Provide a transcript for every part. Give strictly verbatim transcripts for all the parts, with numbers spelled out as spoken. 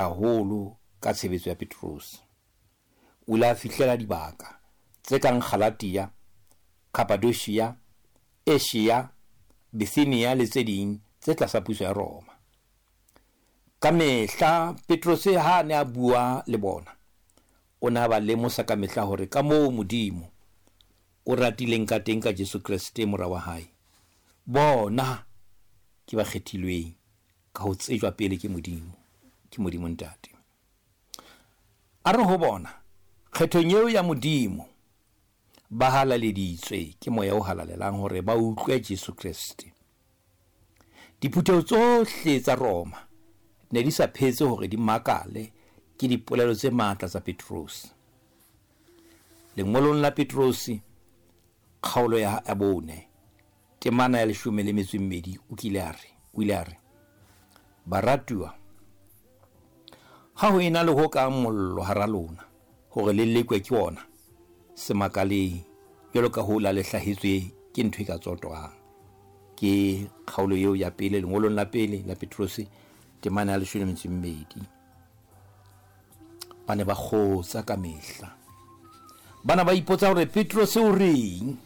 haholo ka tshebetso ya Petrose. O ile a fihlela dibaka tse kang Galatia, Cappadocia, Asia, Bithynia le tse ding tse tlasa puso ya Roma. Ka mehla Petrose ha a ne a bua le bona, o ne a ba lemosa ka mehla hore ka moo Modimo o ratileng ka teng ka Jesu Kreste mora wa hae, bona ke ba kgethilweng ka ho tsejwa pele ke Modimo, ke Modimo Ntate. A re ho bona, kgethong eo ya Modimo ba halaleditswe ke Moya o Halalelang hore ba utlwe Jesu Kreste. Diphutheho tsohle tsa Roma ne di sa phetse hore di makale ke dipolelo tse matla tsa Petrose. Lengolong la Petrose kgaolo ya bone temana ya leshome le metso e mmedi o kile a re, o ile a re, baratuwa, ha ho ena le ho kang mollo hara lona hore le lekwe ke ona, se makaleng jwalo ka ho la le hlahetswe ke ntho e ka tsotwang. Ke kgaolo eo ya pele lengolong la pele la Petrose temana ya leshome le metso e mmedi. Ba ne ba kgotsa ka mehla. Bana ba ipotsa hore Petrose o reng?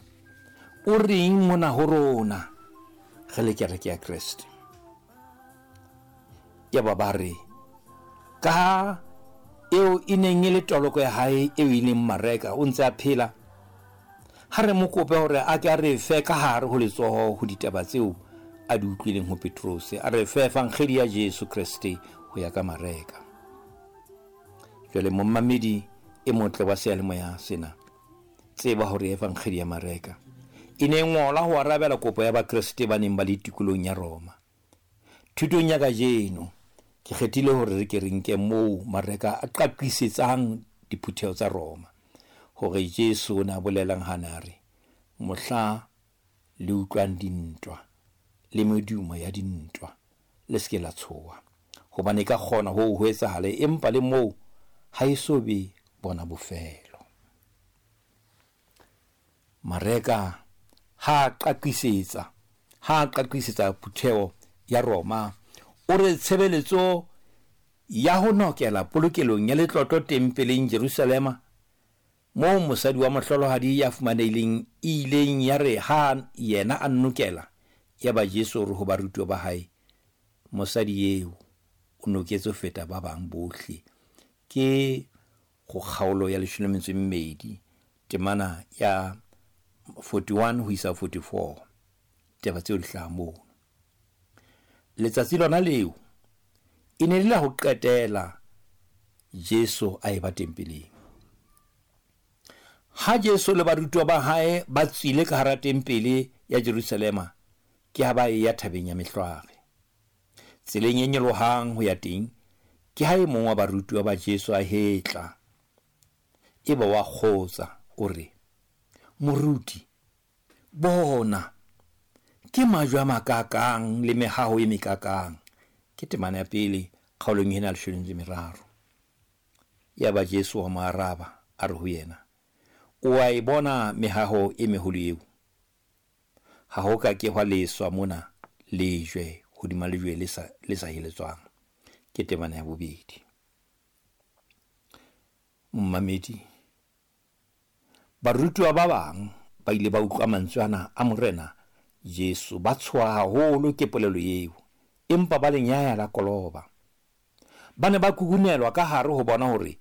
O reng mona ho rona re le kereke ya Kreste? Yaba ba re, ka ha eo e neng e le toloko ya hae eo e leng Mareka o ntse a phela, ha re mo kope hore a ke a re fe ka hare ho letsoho ho ditaba tseo a di utlwileng ho Petrose, a re fe evangeli ya Jesu Kreste ho ya ka Mareka. Jwale momamedi e motle wa seyalemoya sena, tseba hore evangeli ya Mareka e ne ngola ho arabela kopo ya Bakreste ba neng ba le tikolong ya Roma. Thutong ya kajeno ke kgethile hore re ke re nke moo Mareka a qaqisetsang diphutheho tsa Roma hore Jesu o ne a bolelang ha na re, mohla le utlwang dintwa le medumo ya dintwa le se ke la tshoha, hobane e ka kgona ho ho etsahale, empa le moo ha e so be bona bofelo. Mareka ha qaqisetsa ha qaqisetsa phutheho ya Roma, o re tshebeletso ya ho nokela polokelong ya letlotlo tempeleng Jerusalema, moo mosadi wa mohlolohadi ya fumanehileng e ileng ya re ha yena a nokela, ya ba Jesu o re ho barutuwa ba hae, mosadi eo o noketse ho feta ba bang bohle. Ke go kgaolo ya leshome le metso e mmedi temana ya forty-one ho isa forty-four. Taba tseo di hlaha moo. Letsatsi lona leo e ne le la ho qetela Jesu a eba tempeleng. Ha Jesu le barutuwa ba hae ba tswile ka hara tempele ya Jerusalema, ke ha ba eya thabeng ya Mehlware. Tseleng e nyolohang ho ya teng, ke ha e mong wa barutuwa ba Jesu a hetla, eba wa kgotsa, o re, Moruti, bona, ke majwe a makakang le mehaho e mekakang. Ke temana ya pele kgaolong ena ya leshome le meraro. Yaba Jesu wa mo araba, a re ho yena, o a e bona mehaho e meholo eo? Ha ho ka ke hwa leswa mona lejwe hodima lejwe le sa, le sa heletswang. Ke temana ya bobedi. Momamedi, barutuwa ba bang ba ile ba utlwa mantswe ana a Morena Jesu, ba tshoha haholo ke polelo eo, empa ba lenyaya la koloba. Ba ne ba kukunelwa ka hare ho bona hore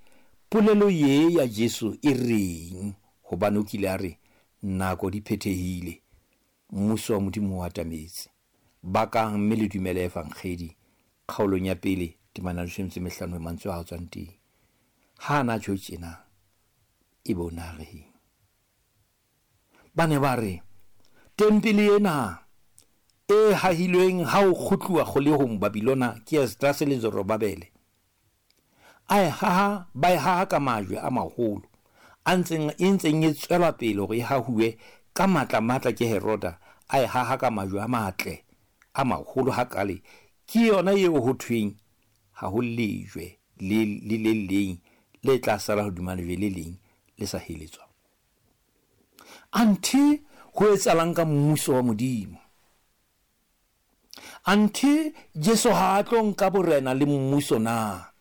polelo ye ya Jesu e reng, hobane o kile a re, nako di phethehile, mmuso wa Modimo o atametse. Bakang mme le dumele evangeli, kgaolong ya pele temana ya leshome le mehlano mantswe a tswang teng. Ha na tjho tjena, e be o na reng? Ba ne ba re, tempele ena e hahilweng ha o kgutluwa kgolehong Babilona ke Esdrase le Zorobabele, a e haha, ba e haha ka majwe a maholo a ntseng e ntseng e tswela pele hore e hahuwe ka matla matla ke Heroda, a e haha ka majwe a matle a maholo hakale. Ke yona eo ho thweng ha ho lejwe le le le leng le tla sala hodima lejwe le leng le sa heletswa. Anthe ho etsahalang ka mmuso wa Modimo? Anthe Jesu ha a tlo nka borena le mmuso na?